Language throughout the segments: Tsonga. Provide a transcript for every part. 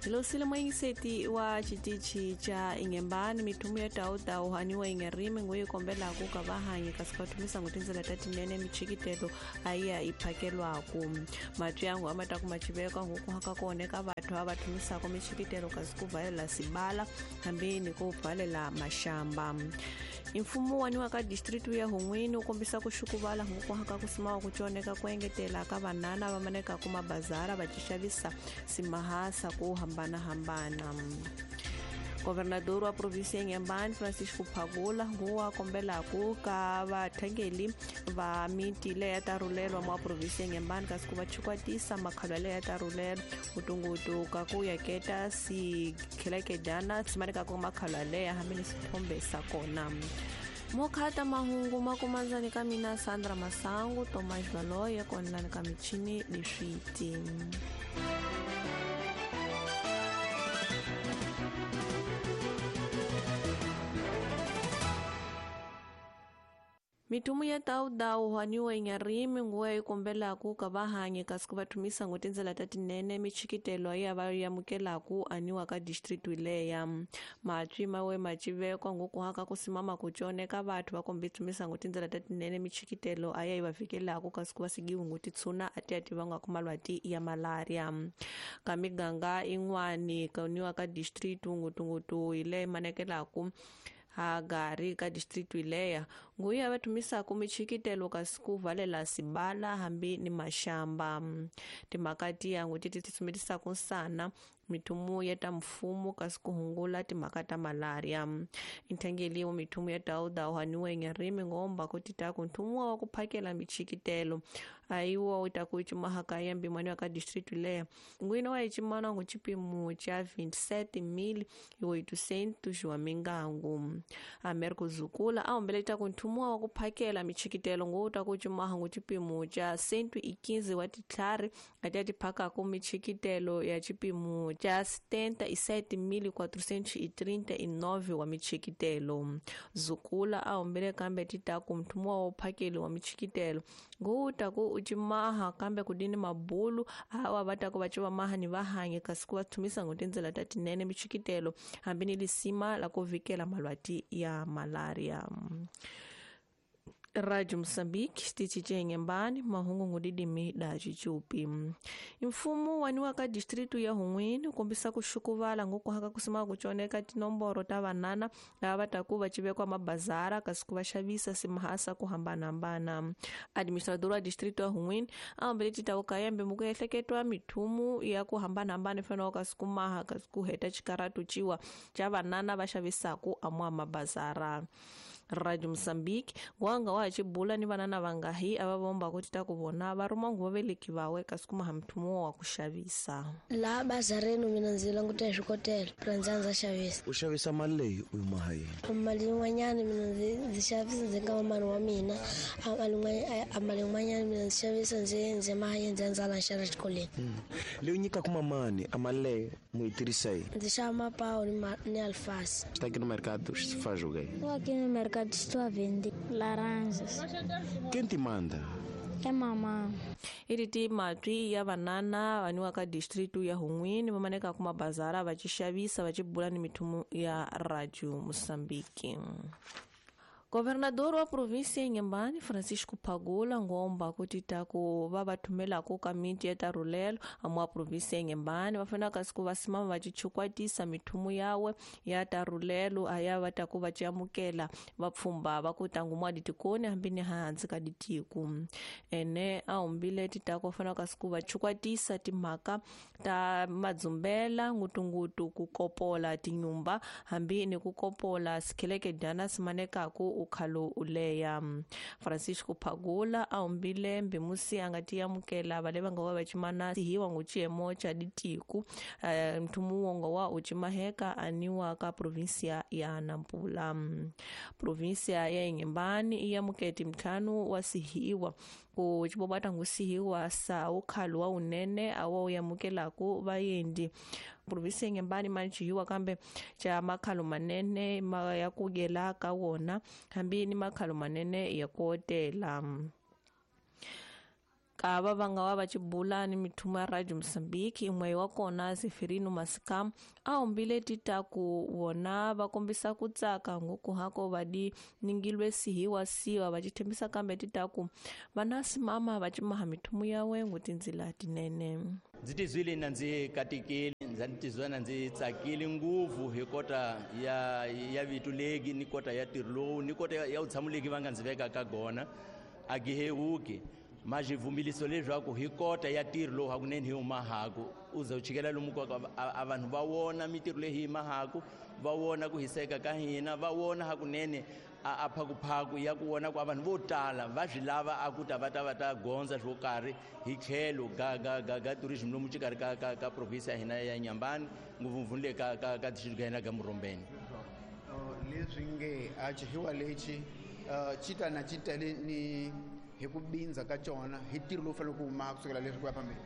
Hilosile moyingiseti wa xitichi xa Inhembane mithumu ya tawutawu haniwa ingerimi nguye kombelaku ka vahanyi kasi va thumisa ngo tindlela ta tinene michikitelo a yi ya yi phakelwaku matyangu a ma ta kuma xiveka huku haka kona eka vathu a va thumisaka michikitelo kasi ku valela sibala hambi ni ku pfalela maxamba. Mfumo wa niwa ka district ya Hun'wini wu kombisa ku xukuvala huku haka ku simawa ku coneka ku engetela ka vanana va maneka ku mabazara va xavisa simahasa ku hambanahambana. Governador wa provinsi ya Inhembane Francisco Phagula nguwa kombelaku ka vathengeli va miti leya ta rhulelwa mwa provinsi ya Inhembane kasi ku va chukwatisa makhalwa leya ta rhulelwa ngutungutu ka ku yaketa sikhelekedyana simaneka ku makhalwa leya hambi ni swithombe sa kona. Mokhata mahungu makumandzani ka mina Sandra Masangu Tomas Valoye konelani ka michini leswiti. Mithumu ya tawudawu haniwa inyarimi nguwa yi kombelaku ka vahanyi kasi ku va thumisa ngo tindlela ta tinene michikitelo ya va yamukelaku aniwa ka district leya. Matwi mawe macivekwa ngoku haka ku simama ku coneka vathu va kombi thumisa ngo tindlela ta tinene michikitelo a ya yi va fikelaku kasi ku va sigiwe ngo titshuna a ti ya tivanga ku malwati ya malaria. Ka miganga in'wani kaniwa ka district ngutungutu hi leyi manekelaku hagari ka district leya nguya va thumisaka michikitelo kasi ku valela sibala hambi ni maxamba. Timhaka tiyangu ti tisumetisaka nsana mithumu ya ta mfumo kasi ku hungula timhaka ta malaria. Inthengeliwa mithumu ya tawudawu haniwa inyarimi ngomba ku titaku nthumu wa ku phakela michikitelo ayiwa wu ta ku cimahaka ya mbimani wa ka district leya ngwina wa icimana ngu cipimu ca 27.800 wa mingangu. Americo Zukula a humbeleta ku nthumu wa ku phakela michikitelo ngu ta ku cimaha ngu cipimu ca 115 wa titlhari a ti phakaku michikitelo ya cipimu ca 77.439 wa michikitelo. Zukula a humbele kambe titaku nthumu wa phakeli wa michikitelo ngu ta ku ucimaha kambe kudini mabulu awa va ta ku va civa maha ni vahanyi kasi ku va thumisa ngo tindlela ta tinene michikitelo hambi ni lisima la ku vikela malwati ya malaria. Radio Mozambique xitichi xa Inhembane mahungu ngudidimi da xichupi. Mfumo waniwa ka district ya Hun'wini kombisa ku xukuvala ngoku haka ku sima ku coneka tinomboro ta vanana lava va ta ku va civekwa mabazara kasi ku va xavisa simahasa ku hambanahambana. Administrador wa district ya Hun'wini a humbele titawu kayembe muku ehleketwa mithumu ya ku hambanahambana fanele kasi ku maha kasi ku heta xikaratu ciwa xa vanana va xavisaku amwa mabazara. Radio Mozambique wanga wa xibula ni vanana vangahi a va vomba ku tita ku vona va ruma nguva veleki vawe kasi kuma hamthumu wa ku xavisa. La bazareni mina ndzi languta swikotela prandza ndza xavisa. U xavisa mali leyi u yi maha yini? Mali yin'wanyana mina ndzi xavisa ndzi nga mali wa mina, a mali yin'wanyana mina ndzi xavisa ndzi maha yini ndzi ndza la xava xikolweni. Leyi nyikaka mamani a mali leyi mu yi tirhisa yini? Ndzi xava mapawu ni alface. Está aqui no mercado, se faz o quê? Estou aqui no mercado, estou a vender laranjas. Quem te manda? É mamã. Iriti matwi ya vanana vaniwa ka district ya Hun'wini va maneka ku mabazara va xavisa va xibula ni mithumu ya Radio Mozambique. Governador wa provinsi ya Inhembane Francisco Phagula ngomba ku titaku va va thumelaku ka miti ya tarhulelo amwa provinsi ya Inhembane va fanele kasi ku va simama va chichukwatisa mithumu yawe ya tarhulelo a ya va ta ku va amukela vapfhumba va ku tangumwa ditikoni hambi ni hansi ka ditiku. Ene a humbile titaku va fanele kasi ku va chukwatisa timhaka ta madzumbela ngutungutu ku kopola tinyumba hambi ni ku kopola sikhelekedyana simanekaku ukhalo uleya. Francisco Phagula a humbile mbimusi a nga ti amukela vale va nga wa va cimana hiwa ngu xiyemo xa ditiku nthumu wongo wa u cimaheka aniwa ka provinsia ya Nampula. Provinsia ya Inhembane i amuketi mtlhanu wa sihiwa ku xibobata ngu sihiwa sa ukhalo wa unene awa u yamukelaku vayendi. Provinsi ya Inhembane manchihiwa kambe xa makhalo manene ma ya ku yela ka wona hambi ni makhalo manene ya ku otela. Ka va va nga wa va cibula ni mithumo ya Radio Mozambique imwe wa kona Zeferino Masikam a humbile titaku vona va kombisa ku tsaka ngoku hako vadi ningilwe sihiwa siwa va cithembisa kambe titaku vana simama va cimaha mithumo yawe ngutindzila tinene. Ndzi tizwile na ndzi katekile, ndzi tizwa na ndzi tsakile ngopfu hi kota ya vito legi ni kota ya ntirho lowu ni kota ya vutshamo legi va nga ndzi veka ka gona a gihewuki majivumbiliso leswaku hi kota ya ntirho lowu hakunene hi humahaku u za u chikela lomu ka a vanhu va vona mintirho leyi hi mahaku va vona ku hiseka ka hina va vona hakunene a phakuphaku ya ku vona ku a vanhu vo tala va swi lava a ku ta va ta va ta gondza swo karhi hi tlhelo ga tourism lomu xikarhi ka province ya hina ya Inhambane ngopfungopfu le ka district ya hina ga Murombeni. Leswi nge a chihiwa lexi chita na chitele ni hi ku bindza ka cona hi ntirho lowu fanele ku huma kusukela leswi ku ya phambili.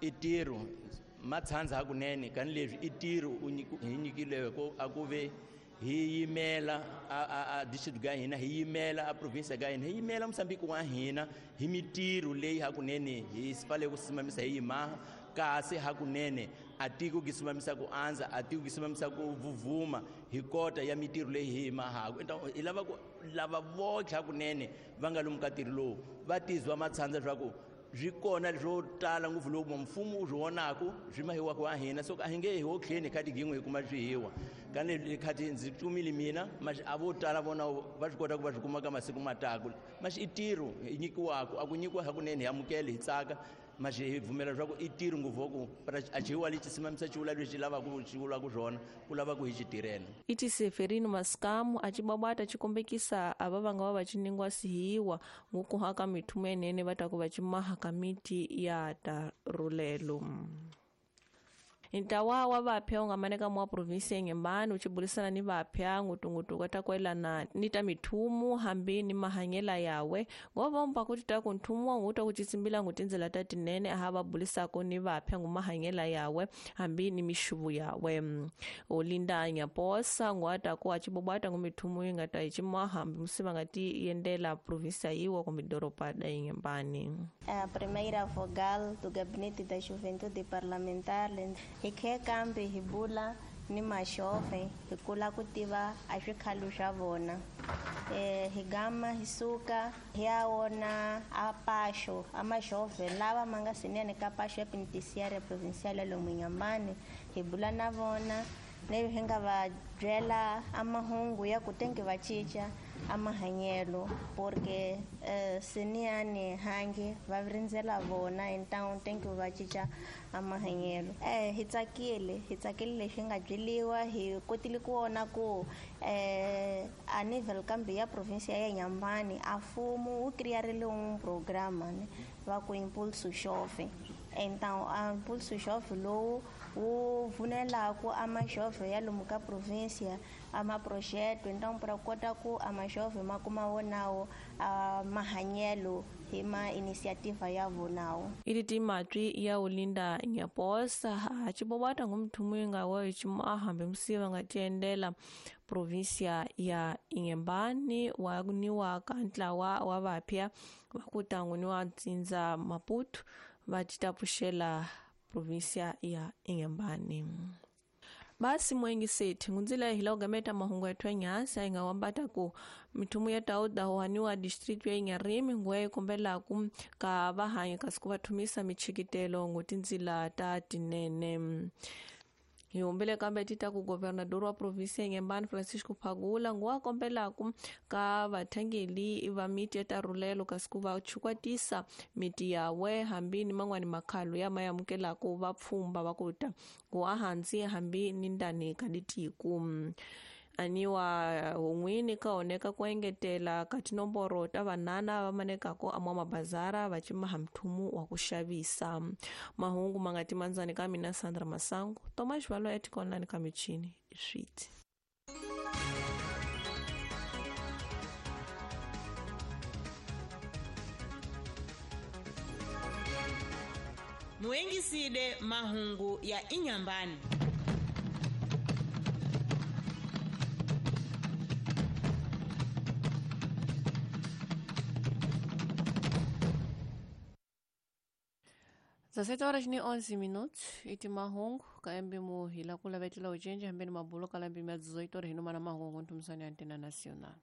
I ntirho matshandza hakunene kani leswi i ntirho hi nyikileko a ku ve hi yimela a district ga hina hi yimela a province ga hina hi yimela Mozambique wa hina hi mintirho leyi hakunene hi fanele ku simamisa hi yimaha kasi hakunene a tiko ki simamisa ku andza a tiko ki simamisa ku vuvuma hi kota ya mintirho leyi hi yimahaku. Hi lava ku lava votlhe hakunene va nga lomu ka ntirho lowu va tizwa matshandza leswaku swi kona swo tala ngopfu loku mfumo wu swi vonaku swi mahiwaka wa hina so a hi nge hi wo tlheni khati gin'we hi kuma swihiwa kani khati ndzi tumile mina maxi a vo tala vona va swi kota ku va swi kuma ka masiku mataku maxi i ntirho hi nyikiwaku a ku nyikiwa hakunene hi amukele hi tsaka maxi hi pfumela leswaku i ntirho ngopfu wa ku a xihiwa lexi simamisa xivula lexi lavaku xi vulaka swona ku lava ku hi xi tirhela. Iti Seferino Masikamu a cibabata cikombekisa ava va nga va va ciningwa sihiwa ngukuhaka mithumo enene va ta ku va cimaha ka miti ya tarulelo. Ntlawa wa vapya wu nga maneka mwa provinsi ya Inhambane wu cibulisana ni vapya ngutungutu ka ta kwelana ni ta mithumu hambi ni mahanyela yawe ngova umba kuti ta ku nthumu wa nguta ku citsimbila ngu tindzela ta tinene aha va bulisako ni vapya ngu mahanyela yawe hambi ni mixuvu yawe. Olinda Nyaposa ngwata ku acibobwata ngu mithumu yi nga ta yi cimaha hambi musiva nga ti yendela provinsi yiwa kumbe doroba da Inhambane. A primeira vogal do Gabinete da Juventude Parlamentar hi khe kambe hi bula ni maxove hi kula ku tiva a swikhalo swa vona. Hi gama hi suka hi ya wona a paxo a maxove lava ma nga sinene ka paxo ya penitenciária provincial ya lomu Inhambane hi bula na vona leyi hi nga va byela a mahungu ya ku tenge va cinca a mahanyelo porque siniyani hangi va rindzela vona então tenge va cinca a mahanyelo. Hi tsakile leswi nga byeliwa hi kotile ku vona ku a nível kambe ya provinsia ya Inhambane a mfumo wu criarile um programa ne va ku Impulso Jovem. Então a Impulso Jovem lowu wu pfunelaku a majovem ya lomu ka provinsia a maprojeto então para kota ku a majovem ma kuma wonawo a mahanyelo hi ma iniciativa ya vonawo. Iti timatwi ya Olinda Nyaposa a cibobata ngumthumu yi nga wa cimaha hambi musiva nga tiendela provinsia ya Inhambane wa niwa ka ntlawa wa vapya va ku tangu ni wa ntsindza Maputo va citapuxela provinsia ya Inhambane. Basi mwengi seti ngunzila hila ugameta mahungu ya twanyasa inga wambata ku mithumu ya tauda huhaniwa district ya Inharime ngwe kumbela ku ka vahanyi kasi ku vathumisa michikitelo ngutindzila ta tinene. Hi humbile kambe ti ta ku governador wa provinsi ya Inhambane Francisco Phagula nguwa kombelaku ka vathangeli va miti ya tarulelo kasi ku va chukwatisa miti yawe hambi ni man'wani makhalo ya ma amukelaku va pfhumba va ku ta ku ahansi hambi ni ndani ka litiku. Aniwa hun'wini ka oneka ku engetela ka tinomboro ta vanana va manekako amwa mabazara va cimaha mthumu wa ku xavisa. Mahungu ma nga timandzani ka mina Sandra Masangu Thomas Valo ya tikonlani ka michini switi. Muengisile mahungu ya Inhambane. 17 horas ni 11 minutos iti mahungu kaembe mu hila kula vetela ucenje hambeni mabulo kala mbimi ya 18 horas hinuma na mahungu ntumisani ya antena nacional.